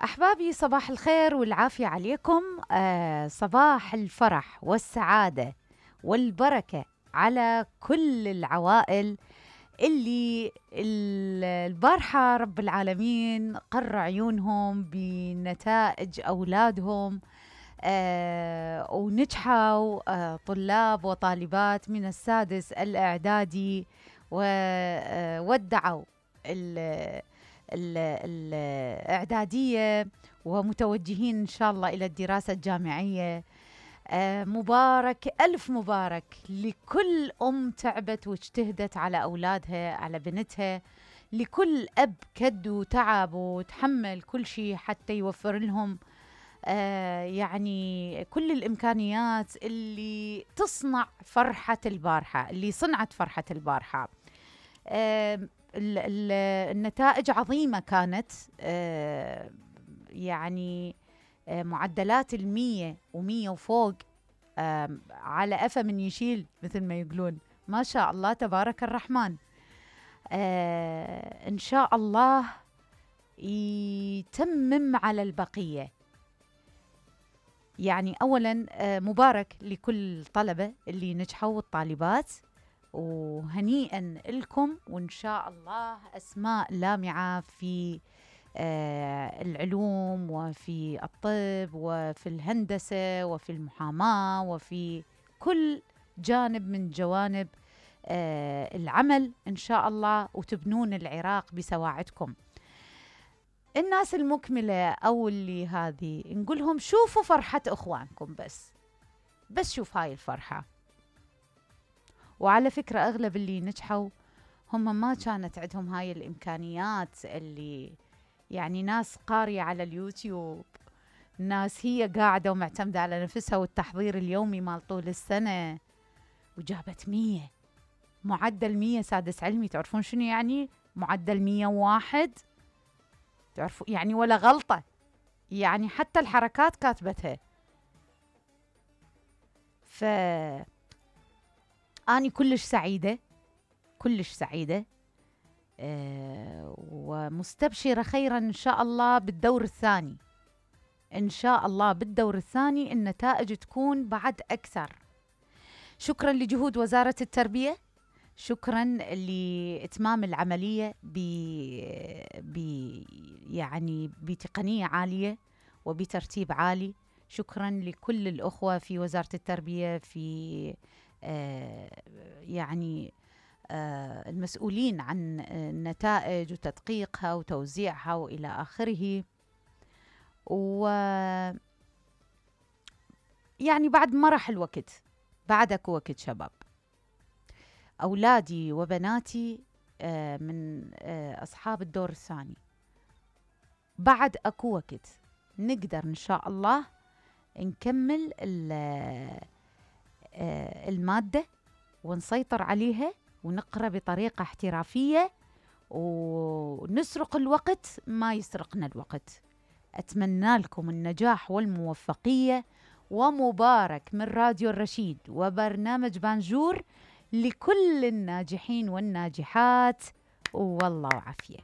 أحبابي، صباح الخير والعافية عليكم. صباح الفرح والسعادة والبركة على كل العوائل اللي البارحة رب العالمين قر عيونهم بنتائج أولادهم، ونجحوا طلاب وطالبات من السادس الإعدادي وودعوا الإعدادية ومتوجهين إن شاء الله إلى الدراسة الجامعية. مبارك، ألف مبارك لكل أم تعبت واجتهدت على أولادها، على بنتها، لكل أب كد وتعب وتحمل كل شيء حتى يوفر لهم يعني كل الإمكانيات اللي تصنع فرحة البارحة، اللي صنعت فرحة البارحة. النتائج عظيمة كانت، يعني معدلات 100 و100 وفوق، على أفا من يشيل مثل ما يقولون. ما شاء الله تبارك الرحمن. إن شاء الله يتمم على البقية. يعني أولا مبارك لكل الطلبة اللي نجحوا والطالبات، وهنيئا لكم، وإن شاء الله أسماء لامعة في العلوم وفي الطب وفي الهندسة وفي المحاماة وفي كل جانب من جوانب العمل إن شاء الله، وتبنون العراق بسواعدكم. الناس المكملة أو اللي هذه نقولهم شوفوا فرحة إخوانكم، بس شوف هاي الفرحة. وعلى فكرة أغلب اللي نجحوا هم ما كانت عندهم هاي الإمكانيات، اللي يعني ناس قارية على اليوتيوب، ناس هي قاعدة ومعتمدة على نفسها والتحضير اليومي مال طول السنة، وجابت 100، معدل 100 سادس علمي. تعرفون شنو يعني معدل 101؟ تعرفوا يعني ولا غلطة، يعني حتى الحركات كاتبتها. أنا كلش سعيدة، كلش سعيدة، ومستبشرة خيرا إن شاء الله بالدور الثاني. إن شاء الله بالدور الثاني النتائج تكون بعد أكثر. شكرا لجهود وزارة التربية، شكرا لإتمام العملية يعني بتقنية عالية وبترتيب عالي. شكرا لكل الأخوة في وزارة التربية، في يعني المسؤولين عن النتائج وتدقيقها وتوزيعها وإلى آخره. يعني بعد ما راح الوقت، بعدك وقت شباب، أولادي وبناتي من أصحاب الدور الثاني، بعد أكو وقت نقدر إن شاء الله نكمل المادة ونسيطر عليها ونقرأ بطريقة احترافية ونسرق الوقت ما يسرقنا الوقت. أتمنى لكم النجاح والموفقية، ومبارك من راديو الرشيد وبرنامج بانجور لكل الناجحين والناجحات، والله وعافية.